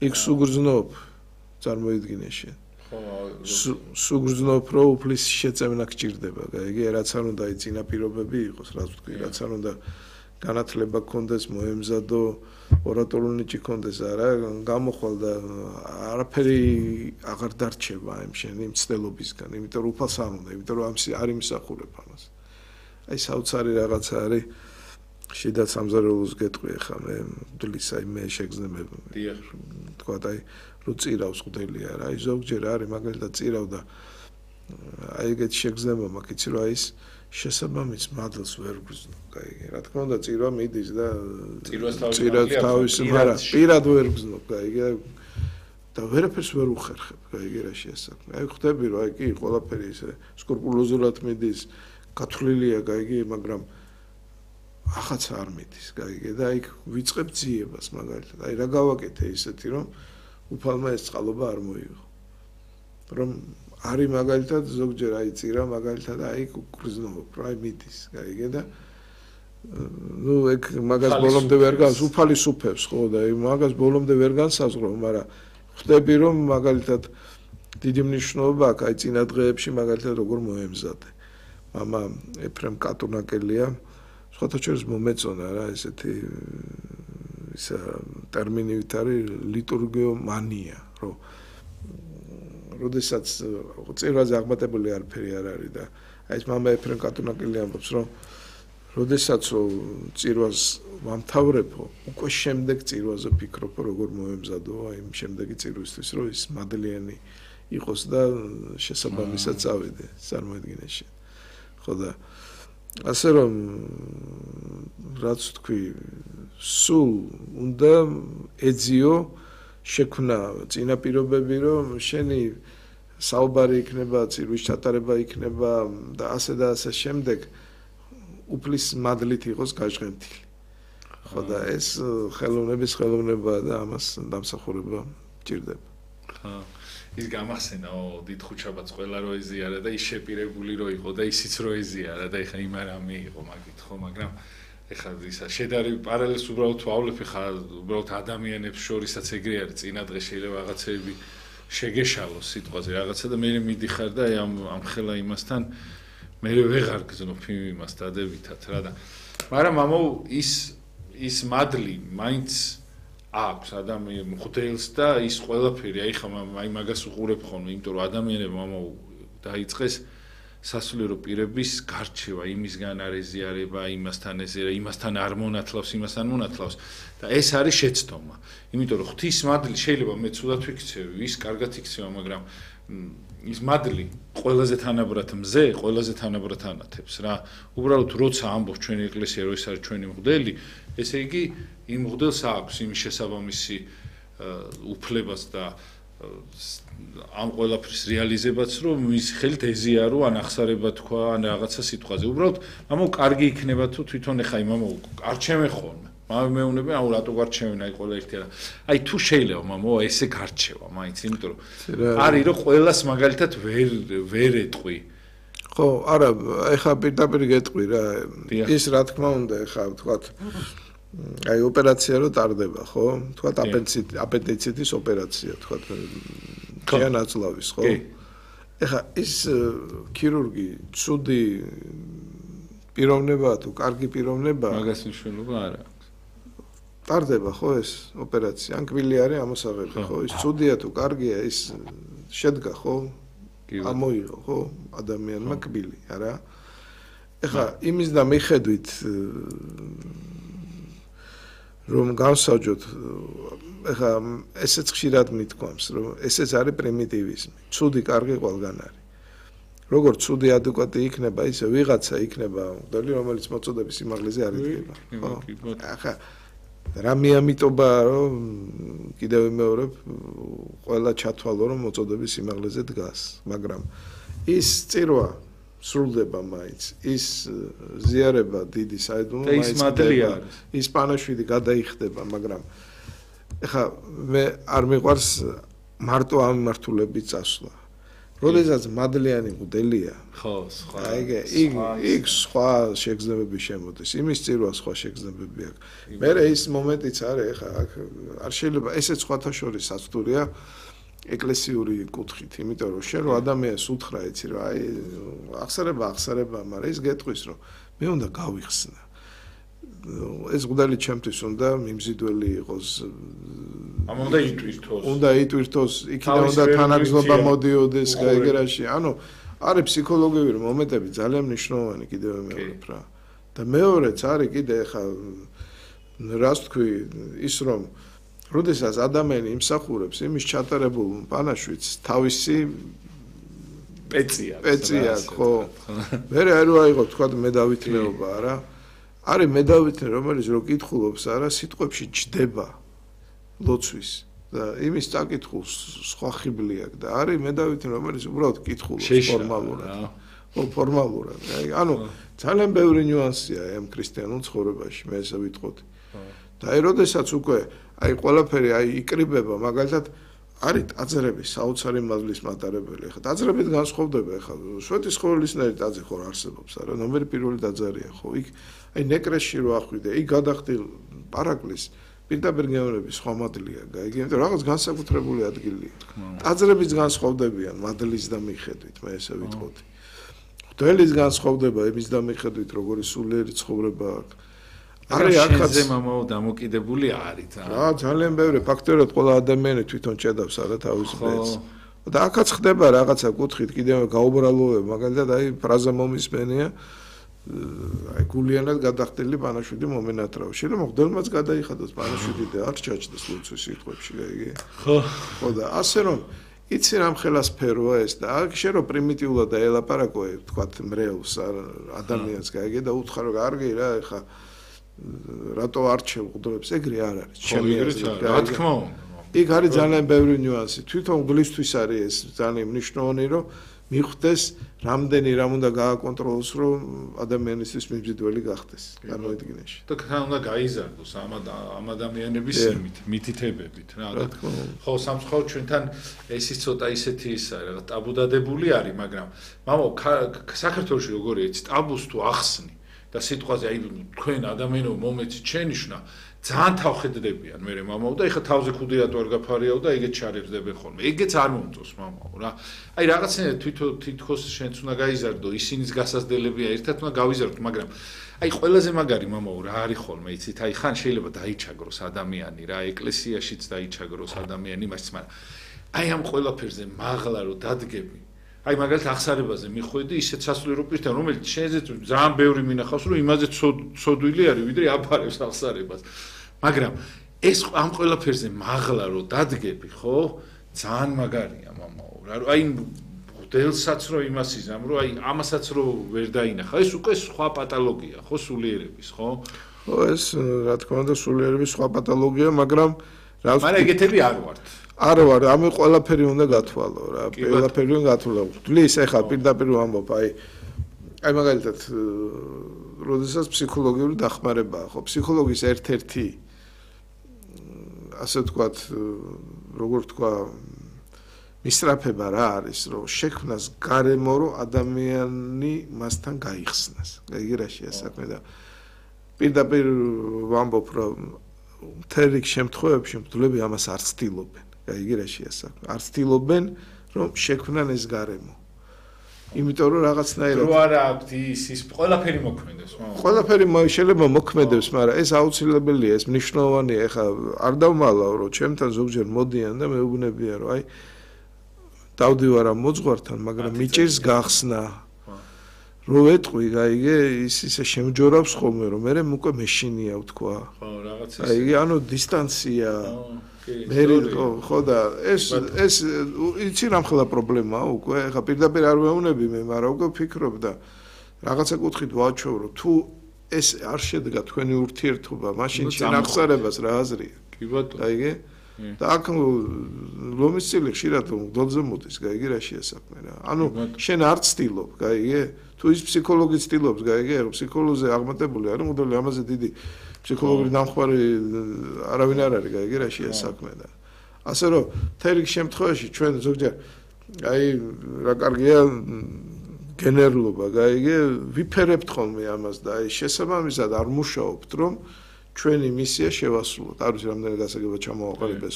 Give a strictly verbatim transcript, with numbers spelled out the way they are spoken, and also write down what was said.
იქ სუგრძნობ წარმოიდგინე შენ სუგრძნობ რომ უფლის შეწევნა გჭირდება გაიგე რაც არ უნდა იწინა პირობები იყოს რაც ვთქვი რაც არ უნდა განათლება გქონდეს მოემზადო ორატორული ნიჭი გქონდეს არა გამოხვალ და არაფერი აღარ დარჩება ამ შენი მცდელობისგან იმიტომ რომ უფალს არ უნდა იმიტომ რომ ამის არ იმსახურებ ამას აი საოცარი რაღაცა არის შიდა სამზარეულოს გეტყვი ხა მე მდლის აი მე შეგზნებ თქვა აი რო წირავს ყდელი არა აი ზოგჯერ არის მაგალითად წირავდა აი ეგეთ შეგზნება მაქვს იცი რომ აი ის შესაბამის მადლს ვერ გზნო გაიგე რა თქმა უნდა წირვა მიდის და წირვას თავის მაგრამ პირად ვერ გზნო გაიგე და ვერაფერს ვერ უხერხებ გაიგე რა შეასაქმე აი ხვდები რომ აი კი ყველაფერი ისე სკრუპულოზულად მიდის გათვლილია გაიგე მაგრამ ახაც არ მიდის გაიგე და აი ვიწყებ ძიებას მაგალითად აი რა გავაკეთე ისეთი რომ უფალმა ეს წყალობა არ მოიღო რომ არის მაგალითად ზოგჯერ აი წირა მაგალითად აი გრძნობ რა მიდის გაიგე და ნუ ეგ მაგას ბოლომდე ვერ განს უფალი სუფევს ხო და აი მაგას ბოლომდე ვერ განსაზღვრო მაგრამ ხვდები რომ მაგალითად დიდი მნიშვნელობა აქვს აი წინა დღეებში მაგალითად როგორ მოემზადე მამა ეფრემ კატუნაკელია სხვათა შორის მომეწონა რა ესეთი ისა ტერმინივით არის ლიტურგიომანია რომ როდესაც წირვაზე აღმატებული არაფერი არ არის და აი ეს მამა ეფრემ კატუნაკელი ამბობს რომ როდესაც წირვას ვამთავრებო უკვე შემდეგ წირვაზე ფიქრობ როგორ მოემზადო აი იმ შემდეგი წირვისთვის რომ ის მადლიანი იყოს და შესაბამისად წავიდე წარმოედგინე შენ ხო და ასე რომ რაც თქვი სულ უნდა ეძიო შექმნა წინა პირობები რომ შენი საუბარი იქნება წირვის ჩატარება იქნება და ასე და ასე შემდეგ უფლის მადლით იყოს გაჟღენთილი ხო და ეს ხელოვნების ხელოვნებაა და ამას დამსახურება ჭირდება ხა ის გამახსენაო დიდ ხუჩაბაც ყველა რო ეზიარა და ის შეპირებული რო იყო და ისიც რო ეზიარა და ეხა იმ არამე იყო მაგით ხო მაგრამ ეხა ისა შედარი პარალელს უბრალოდ ვავლებ ხა უბრალოდ ადამიანებს შორისაც ეგრე არის წინა დღე შეიძლება რაღაცეები შეგეშალოს სიტყვაზე რაღაცა და მე მიდიხარ და აი ამ ამ ხელა იმასთან მე ვეღარ გზნობ იმას დადებითად რა და მაგრამ ამო ის ის მადლი მაინც აქვს ადამიან მღვდელს და ის ყველაფერი აი ხა აი მაგას უყურებ ხოლმე იმიტომ რომ ადამიანებმა ამო დაიწყეს სასულიერო პირების გარჩევა იმისგან არ ეზიარება იმასთან ეზიარა იმასთან არ მონათლავს იმასთან მონათლავს და ეს არის შეცდომა იმიტომ რომ ღვთის მადლი შეიძლება მე ცუდად ვიქცევი ის კარგად იქცევა მაგრამ ის მადლი ყველაზე თანაბრად მზე ყველაზე თანაბრად ანათებს რა უბრალოდ როცა ამბობს ჩვენი ეკლესია რომ ეს არის ჩვენი მღვდელი ესე იგი იმ მღვდელს აქვს იმის შესაბამისი უფლებას და ამ ყველაფრის რეალიზებაც რომ მის ხელით ეზიარო ან ახსარება თქვა ან რაღაცა სიტყვაზე უბრალოდ ამო კარგი იქნება თუ თვითონ ეხა იმამო არჩევენ ხოლმე მაგრამ მეუბნები აუ რატო გარჩევენ აი ყველა ერთი რა აი თუ შეიძლება მამო ესე გარჩევა მაინც იმიტომ რომ არის რომ ყველას მაგალითად ვერ ვერ ეტყვი ხო არა ეხა პირდაპირ გეტყვი რა ის რა თქმა უნდა ეხა ვთქვათ აი ოპერაცია რო ტარდება ხო ვთქვათ აპენდიციტ აპენდიციტის ოპერაცია ვთქვათ ჩიანაცლავის ხო ეხა ის ქირურგი ცუდი პიროვნებაა თუ კარგი პიროვნებაა მაგას მნიშვნელობა არ აქვს ტარდება ხო ეს ოპერაცია ან კბილი არის ამოსაღები ხო ის ცუდია თუ კარგია ის შედგა ხო ამოიღო ხო ადამიანმა კბილი არა ეხა იმის და მიხედვით რომ გავსაჯოთ ეხა ესეც ხშირად მithქვამს რომ ესეც არის პრიმიტივიზმი ცუდი კარგი ყველგან არის როგორც ცუდი ადეკვატი იქნება ისე ვიღაცა იქნება მღვდელი რომელიც მოწოდების სიმაღლეზე არ იდგება ხო ახლა რა მიამიტობა რომ კიდევ ვიმეორებ ყველა ჩათვალო რომ მოწოდების სიმაღლეზე დგას მაგრამ ის წირვა სრულდება მაინც ის ზიარება დიდი საიდუმლო მაინც ის მადლია ის პანაშვიდი გადაიხდება მაგრამ ეხა მე არ მიყვარს მარტო ამ მართულებით წასვლა როდესაც მადლიანი მოდელია. ხო, სხვა. აი ეგ იქ სხვა შეგრძნებები შემოდის. იმის წირვა სხვა შეგრძნებები აქვს. მე ის მომენტიც არის, ეხა აქ არ შეიძლება ესეც სხვათა შორის საცდურია ეკლესიური კუთხით, იმიტომ რომ შენ რო ადამიანს უთხრა, იცი რა, აი ახსარება, ახსარება, მაგრამ ის გეტყვის რომ მე უნდა გავიხსნა. ეს მღვდელი ჩემთვის უნდა მიმზიდველი იყოს. ამ უნდა იტვირთოს. უნდა იტვირთოს, იქიდან უნდა თანაგზნობა მოდიოდეს გაიგერაში. ანუ არის ფსიქოლოგიური მომენტები ძალიან მნიშვნელოვანი კიდევ მეორედ რა. და მეორეც არის კიდე ხა რას თქვი ის რომ როდესაც ადამიანი იმსახურებს იმის ჩატარებულ პანაშვიდს თავისი პეცია პეცია ხო მე არ ვაიღო თქვა მე დავითნეობა არა არის მე დავითნე რომელიც რო კითხულობს არა სიტყვებში ჯდება ლოცვის და იმის წაკითხულს სხვა ხიბლი აქვს და არის მე დავითნე რომელიც უბრალოდ კითხულობს ფორმალურად ხო ფორმალურად ანუ ძალიან ბევრი ნიუანსია ამ ქრისტიანულ ცხოვრებაში მე ესე ვიტყოდი და აი როდესაც უკვე აი ყველაფერი აი იკრიბება მაგალითად არის ტაძრები საოცარი მადლის მატარებელი ხა ტაძრებით განსხვავდება ხა შვეთის ხორლისნაირი ტაძრი ხო არსებობს არა ნომერი პირველი ტაძარია ხო იქ აი ნეკრესში რო ახვიდე იქ გადახდილ პარაკლის პირდაპირ გეუბნები სხვა მადლია გაიგე იმიტომ რაღაც განსაკუთრებული ადგილია ტაძრებიც განსხვავდებიან მადლის და მიხედვით მე ესე ვიტყოდი მღვდლის განსხვავდება იმის და მიხედვით როგორი სულიერი ცხოვრება აქვს არის აქაც მამაო დამოკიდებული არის რა ძალიან ბევრი ფაქტორია ყველა ადამიანი თვითონ ჭედავს არა თავის ბედს და აქაც ხდება რაღაცა კუთხით კიდევ გაუბრალოება მაგალითად აი ფრაზა მომისმენია აი გულიანად გადახდილი პანაშვიდი მომენატრაო შეიძლება მღვდელმაც გადაიხადოს პანაშვიდი და არ ჩაჭდეს ლოცვის სიტყვებში გაიგე ხო ხო და ასე რომ იცი რამ ხელა სფეროა ეს და აქ შე რომ პრიმიტიულად დაელაპარაკო თქვათ მრევლს ადამიანს გაიგე და უთხრა რომ კარგი რა ეხა რატო არჩევ მღვდლებს ეგრე არ არის ჩემი აზრით რა თქმა უნდა იქ არის ძალიან ბევრი ნიუანსი თვითონ მღვდლისთვის არის ეს ძალიან მნიშვნელოვანი რომ მიხვდეს რამდენი რამ უნდა გააკონტროლოს რომ ადამიანისთვის მიმზიდველი გახდეს წარმოიდგინეში და თან უნდა გაიზარდოს ამ ამ ადამიანების იმით მითითებებით რა ხო სამწუხაროდ ჩვენთან ესის ცოტა ისეთი ის არის რაღაც ტაბუდადებული არის მაგრამ მამო საქართველოში როგორია იცი ტაბუს თუ ახსნი და სიტყვაზე აი თქვენ ადამიანო მომეცი ჩენიშნა ძალიან თავხედდებიან მე მამაო და ეხა თავზე ხუდი რატო არ გაფარიაო და ეგეც ჩარებსდებენ ხოლმე ეგეც არ მომწონს მამაო რა აი რაღაცნაირად თვითონ თითქოს შენც უნდა გაიზარდო ისინიც გასაზრდელებია ერთად უნდა გავიზარდოთ მაგრამ აი ყველაზე მაგარი მამაო რა არის ხოლმე იცით აი ხან შეიძლება დაიჩაგროს ადამიანი რა ეკლესიაშიც დაიჩაგროს ადამიანი მას მაგრამ აი ამ ყველაფერზე მაღლა რო დადგები აი მაგალითად ახსარებაზე მიხვედი ისეთ სასულიერო პირთან რომელიც შეიძლება ძალიან ბევრი მინახავს რომ იმაზე ცოდვილი არის ვიდრე აფარებს ახსარებას მაგრამ ეს ამ ყველაფერზე მაღლა რო დადგები ხო ძალიან მაგარია მამაო რა აი მღვდელსაც რო იმას იზამ რომ აი ამასაც რო ვერ დაინახა ეს უკვე სხვა პათოლოგია ხო სულიერების ხო ხო ეს რა თქმა უნდა სულიერების სხვა პათოლოგია მაგრამ რა მაგრამ ეგეთები არ ვართ არა ვარ, ამ ყველაფერი უნდა გათვალო რა, ყველაფერი უნდა გათვალო. ვთulis ეხლა პირდაპირ ვამბობ, აი აი მაგალითად, როდესაც ფსიქოლოგიური დახმარებაა, ხო, ფსიქოლოგის ერთ-ერთი ასე ვთქვათ, როგორ ვთქვა, მისწრაფება რა არის, რომ შექმნას გარემო, რომ ადამიანი მასთან გაიხსნას. გაიგე რა შეა საქმე და პირდაპირ ვამბობ, რომ მთელ რიგ შემთხვევებში მღვდლები ამას არ ცდილობენ. გაიგე რა შეასაქმე. არ ცდილობენ რომ შექმნან ეს გარემო. იმიტომ რომ რაღაცნაირად რო არა აქვთ ის ის ყველაფერი მოქმედებს, მაგრამ ყველაფერი შეიძლება მოქმედებს, მაგრამ ეს აუცილებელია, ეს მნიშვნელოვანია. ეხლა არ დავმალავ რომ ჩემთან ზოგჯერ მოდიან და მეუბნებიან რომ აი დავდივარ ამ მოძღვართან, მაგრამ მიჭირს გახსნა. რო ეტყვი, გაიგე, ის ისე შემჯორავს ხოლმე რომ მე უკვე მეშინია ვთქვა. ხო, რაღაც ის. აი, ანუ დისტანცია. მე ხო და ეს ეს იცი რამ ხელა პრობლემაა უკვე ხა პირდაპირ არ ვეუბნები მე მაგრამ უკვე ვფიქრობ და რაღაცა კუთხით ვაჩვევრო თუ ეს არ შედგა თქვენი ურთიერთობა მაშინ შენ ახსარებას რა აზრია კი ბატონო გაიგე და აქ ლომის წილი ხშირად მგდოლზე მოდის გაიგე რა შეასაქმე რა ანუ შენ არ ცდილობ გაიგე თუ ის ფსიქოლოგი ცდილობს გაიგე ფსიქოლოგზე აღმატებული არის მოდელი ამაზე დიდი ფსიქოლოგიური დამხმარე არავინ არ არის გაიგე რა შეა საქმე და ასე რომ თერიქ შემთხვევაში ჩვენ ზოგჯერ აი რა კარგია გენერლობა, გაიგე, ვიფერებთ ხოლმე ამას და აი შესაბამისად არ მუშაობთ, რომ ჩვენი მისია შევასრულოთ. არ ვიცი რამდენი გასაგება ჩამოვაყალიბეს